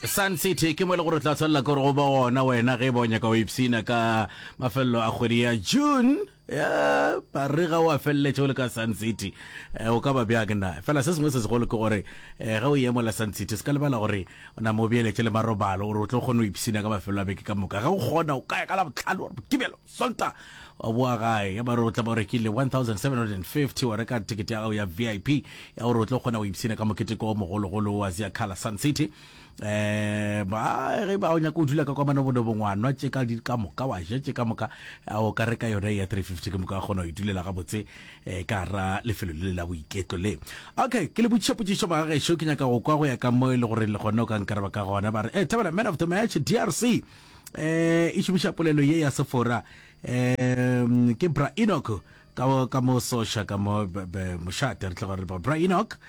Sun City ke mo e le gore o tla tshwanela ke gore go ba gona wena ge e ba o nyaka go ipshina ka mafelelo a kgwedi ya June. Ya, marega o a feleletše o le ka Sun City. Eh, o ka ba bjang na? Fela se sengwe se segolo ke gore eh, ge o ye mola Sun City, se ka lebala gore o nama o beeletše le marobalo gore o tlo kgone go ipshina ka mafelo a beke ka moka. Ge o kgona o ka ya ka Labohlano, wa Mokibelo, Sontaga, wa boa gae. Ya ba re o tla ba o rekile 1750 wa reka tekete ya gago ya VIP ya gore o tlo kgona go ipshina ka moketeko o mogologolo wa Ziakhala Sun City. Eh, ba ge ba o nyaka o dula ka kwa manobonobong wa nwa tše ka di ka moka wa ja tše ka moka a o ka reka yone ya 350 ke moka wa kgona go itulela gabotse eh, ka ra lefelo le la boiketlo le. Okay, ke le botšiša potšišo magagešo ke nyaka go kwa go ya ka mo e le gore le gona o ka nkaraba ka gona ba re eh, Thabela man of the match DRC eh e šomiša polelo ye ya sefora eh ke Bra Enoch Ka, ka mo Sosha, ka mo mošate, re tloga re ba Bra Enoch,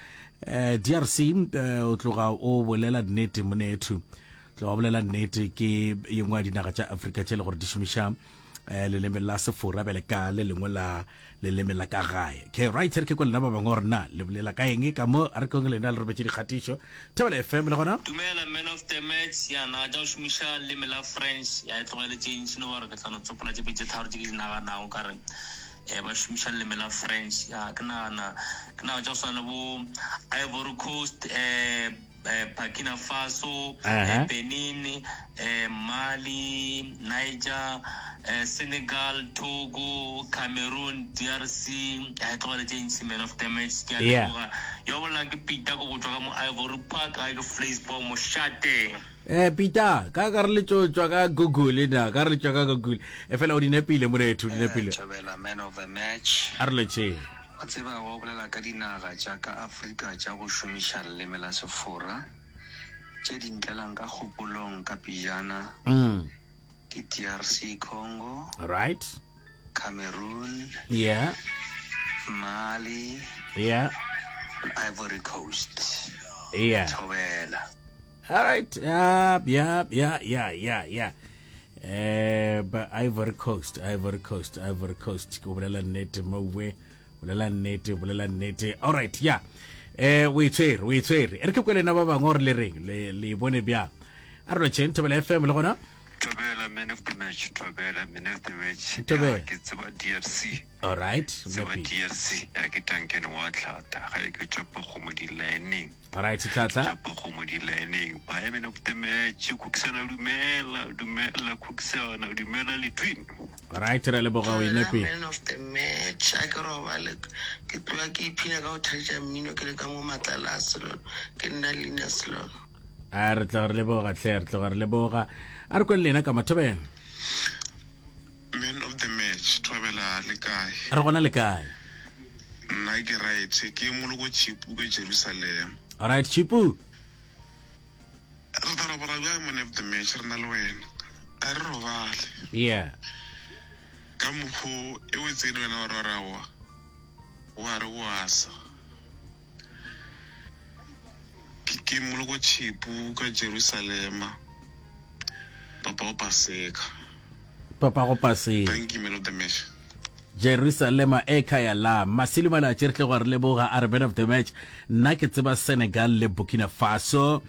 eh, DRC, eh, o tloga o bolela nnete monethu. Tloga o bolela nnete ke ye nngwe ya dinaga tša Afrika tše le gore di šomiša eh, leleme la Sefora bjale ka le lengwe la leleme la ka gae. Okay, right, re ke kwa lena ba bangwe gore na le bolela ka eng ka mo, a re kong lena le robetše dikgatišo. Thobela FM le gona. Dumela man of the match, ya naga tša go šomiša leleme la French ya e tlogele tše ntši no ba re ke tla no tsopola tše pedi tše tharo tše ke di naganago ka re um ba šomiša leleme la French ya ke nagana ke naga tša go swana le bo Ivory Coast um Burkina Faso uh-huh. Benin um Mali Niger um Senegal Togo Cameroon DRC ya e tlogele tše ntši man of the match ke a leboga yo bolelang ke Peter ko go tšwa ka mo Ivory Park ga ke Vleisboom mošate Eh Peter, ka ka re le tšo tšwa ka Google na, ka re le tšwa ka Google. E fela o di nepile morethu, o di nepile. Thobela man of the match. A re letšeng. Wa tseba wa bolela ka dinaga tša ka Afrika tša go šomiša leleme la Sefora, tše di ntlelang ka kgopolong ka pejana ke DRC Congo, Right. Cameroon, Yeah. Mali, Yeah. le Ivory Coast. Yeah. Thobela. All right. Yeah, yeah, yeah, yeah, yeah, yeah. Eh, ba Ivory Coast, Ivory Coast, Ivory Coast. Ke bolela nnete mowe. Bolela nnete, bolela nnete. All right, yeah. Eh, o itshwere, o itshwere. E re ke kwele na ba bangwe gore le reng, le le bone bjang. A re lotšheng Thobela FM le gona. Thobela man of the match, Thobela man of the match. Thobela. Ya, ke tseba DRC. All right. Tseba DRC. Ya ke Duncan wa Tlhata. Ga e ke tšopa kgomo di lining. Alright, Tlhatla. Tšapa kgomo di laeneng. Bye man of the match. Khuksana dumela, dumela Khuksana, dumela le twin. Alright, re leboga o inepe. Man of the match. A ke robale ke tloga ke iphina ka go theetša mmino ke le ka mo matlala a selolo. Ke nna Lina Selolo. A re tloga re leboga hle, re tloga re leboga. A re kwele lena ka mathobeng. Man of the match, Thobela le kae? Re gona le kae? Nna ke right, ke Moloko Chipu ka Jerusalem. Alright Chipu. Re tla robala bjang man of the match re na le wena? A re robale. Yeah. Ka mokgo e o tsene wena wa re wa re aowa, wa re wa sa. Ke, ke Moloko Chipu ka Jerusalema, papa go Paseka. Papa go Paseka. Thank you, man of the match. Jerusalema e khaya la Masilo Malatši re tle go re leboga a re man of the match nna ke tseba Senegal le Burkina Faso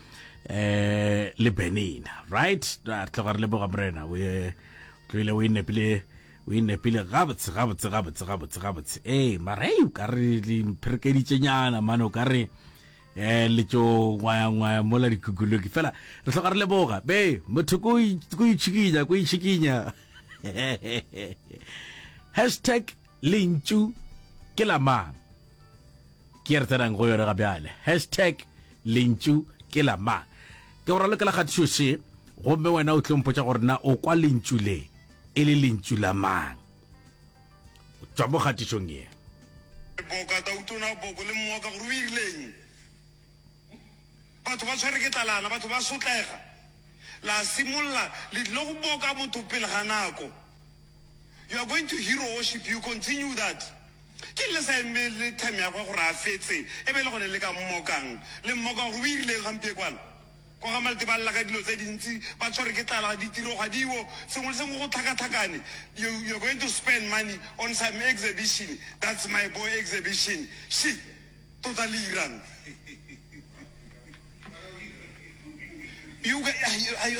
eh le Benin right re tle go re leboga morena o e tloile o e nepile O e nepile gabotse, gabotse, gabotse, gabotse, gabotse. Ee, mara hei, o ka re le mpherekeditšenyana, mane o ka re eh le tšo ngwaya-ngwaya mola dikukuloki. Fela re hloka re leboga. Be, motho ko ko itšhikinya, ko itšhikinya. Hashtag lentšu ke la mang? Ke re tsenang go yone ga bjale. Hashtag lentšu ke la mang? Ke go ralokela kgatišo še, gomme wena o tlo mpotša gore na o kwa lentšu le e le lentšu la mang. Tšwa mo kgatišong ye. Boka Tautona Boko le mmoka gore o irileng. Batho ba tshwere ke tlalana, batho ba sotlega. La simolla le tlile go boka motho pele ga nako. You are going to hero worship, you continue that. Ke le sa emele time ya gwe gore a fetse e be le gone le ka mmokang. Le mmoka gore o irileng gampiekwana. Kwa ga Malte ba lla ka dilo tse dintsi, ba tshwere ke tlala, ditiro ga diwo, sengwe le sengwe go tlhakatlhakane. You, you're going to spend money on some exhibition, that's my boy exhibition. Shit, tota le irang? You, you,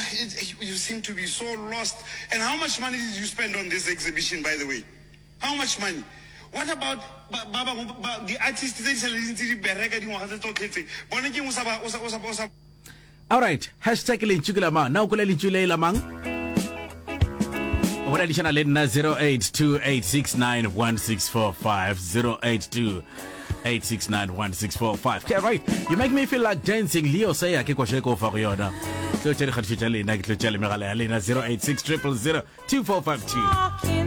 you seem to be so lost. And how much money did you spend on this exhibition, by the way? How much money? What about ba ba bangwe ba di-artist tse di sa le di ntse di bereka dingwaga tse tsotlhe tse? Bone ke eng o sa ba o sa o sa o sa Alright, hashtag lentšu ke la mang? Na o kwele lentšu le la mang? O boledišana le nna 0828691645 0828691645. Okay, right. You make me feel like dancing. Leo Seya ke koše ko fa go yona. Tlo tša dikgatišo tša lena, ke tlo tša le megala ya lena 086 000 2452.